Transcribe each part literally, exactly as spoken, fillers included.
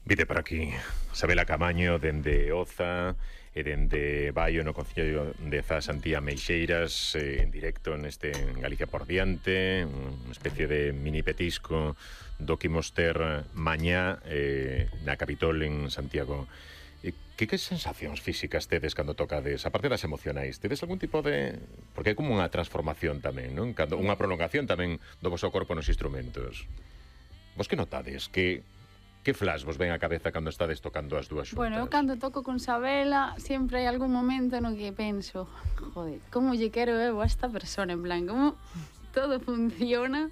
Vide por aquí Sabela Camaño dende Oza e dende Baio no Concello de Zas Antía Meixeiras, eh, en directo neste Galicia por diante, unha especie de mini petisco do que imos ter mañá eh, na Capitol en Santiago. E que, que sensacións físicas tedes cando tocades, aparte das emocionais? Tedes algún tipo de... Porque é como unha transformación tamén, non? Cando, unha prolongación tamén do vosso corpo nos instrumentos. Vos que notades? Que... Que flash vos ven á cabeza cando estades tocando as dúas xuntas? Bueno, eu cando toco con Sabela sempre hai algún momento no que penso, joder, como lle quero eu a esta persona, en plan, como todo funciona.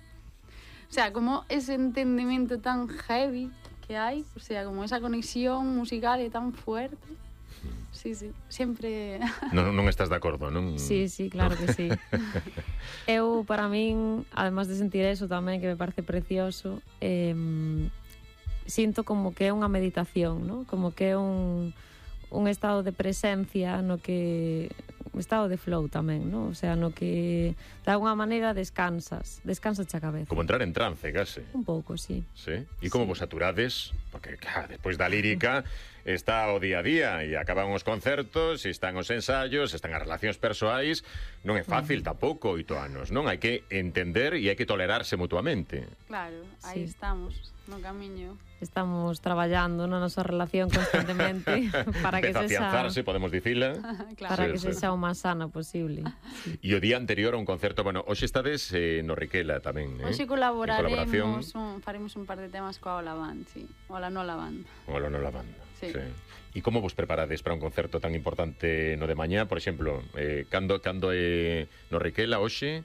O sea, como ese entendimento tan heavy que hai, o sea, como esa conexión musical é tan fuerte. Sí, sí, sempre... Non, non estás de acordo, non? Sí, sí, claro que sí. Eu, para min, además de sentir eso tamén, que me parece precioso, eh, sinto como que é unha meditación, ¿no? Como que é un, un estado de presencia no que... un estado de flow tamén, ¿no? O sea, no que de alguna maneira descansas, descansas a cabeza. Como entrar en trance, case. Un pouco, sí. Sí? E como sí. vos saturades? Porque, claro, despois da lírica está o día a día e acaban os concertos, e están os ensaios, están as relacións persoais. Non é fácil uh-huh. tampouco oito anos, non? Hai que entender e hai que tolerarse mutuamente. Claro, aí sí. estamos, no camiño. Estamos traballando na nosa relación constantemente para que sexa... afianzarse, podemos dicila. Claro. Para sí, que sí. sexa o máis sana posible. E o día anterior a un concerto, bueno, hoxe estades eh, no Riquela tamén, eh? Hoxe colaboraremos, un, faremos un par de temas coa Ola Band, sí. Ola Nola Band. Ola Nola Band, sí. sí. E como vos preparades para un concerto tan importante no de mañá? Por exemplo, eh, cando, cando é no Riquela, hoxe?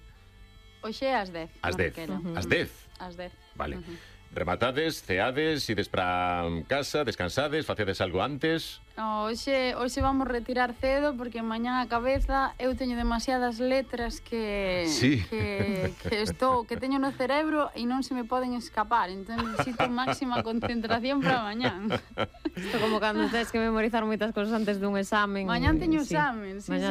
Hoxe é ás dez. Ás dez, uh-huh. ás dez? Ás dez. Vale. Uh-huh. Rematades, ceades, ides para casa, descansades, facedes algo antes? No, hoxe, hoxe vamos retirar cedo porque mañá a cabeza eu teño demasiadas letras que, sí. que, que, estou, que teño no cerebro e non se me poden escapar, entón necesito máxima concentración para mañán. Isto como cando tens que memorizar moitas cosas antes dun examen. Mañán teño sí. examen, sí, Mañá sí.